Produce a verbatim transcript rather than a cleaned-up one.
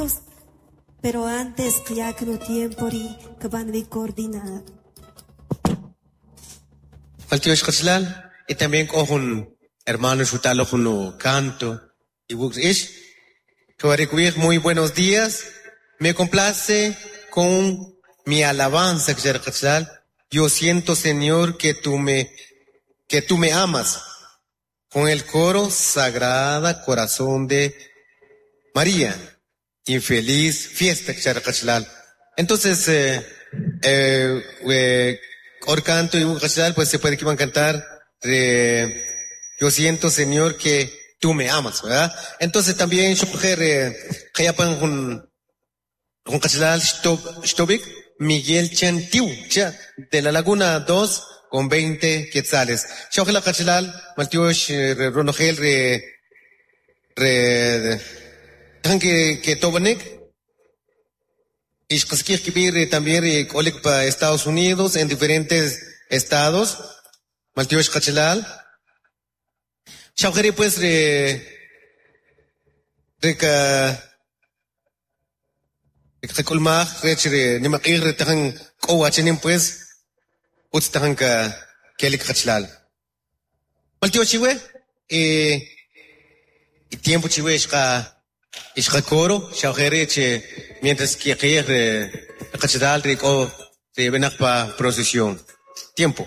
cantos, pero antes kyak no tiempo ri kban coordinar. Maltiox qachalal y también k'o jun hermano xutalo jun canto y ish muy buenos días. Me complace con mi alabanza, Yo siento, Señor, que tú me, que tú me amas. Con el coro Sagrada Corazón de María. Infeliz fiesta, Entonces, eh, eh, eh, canto y pues se puede que van a cantar eh, Yo siento, Señor, que tú me amas, ¿verdad? Entonces también yo eh, Miguel Chantiu, de la Laguna dos con veinte quetzales. Shogela qachalal, maltiox ronojel re re que que tobanek ix kibir también re k'olik pa Estados Unidos en diferentes estados. Maltiox qachalal. Shawjeri pues re re ka qak'ulmaj rech re nimaq'ij re tajan k'o wachinim pues utz tajan ka kelik qachalal. Maltiox chiwe eh y tiempo chiwe ixqa ixqa coro shawjeri che mientras que qij re qachalal re k'o re benaq pa procesión. Tiempo.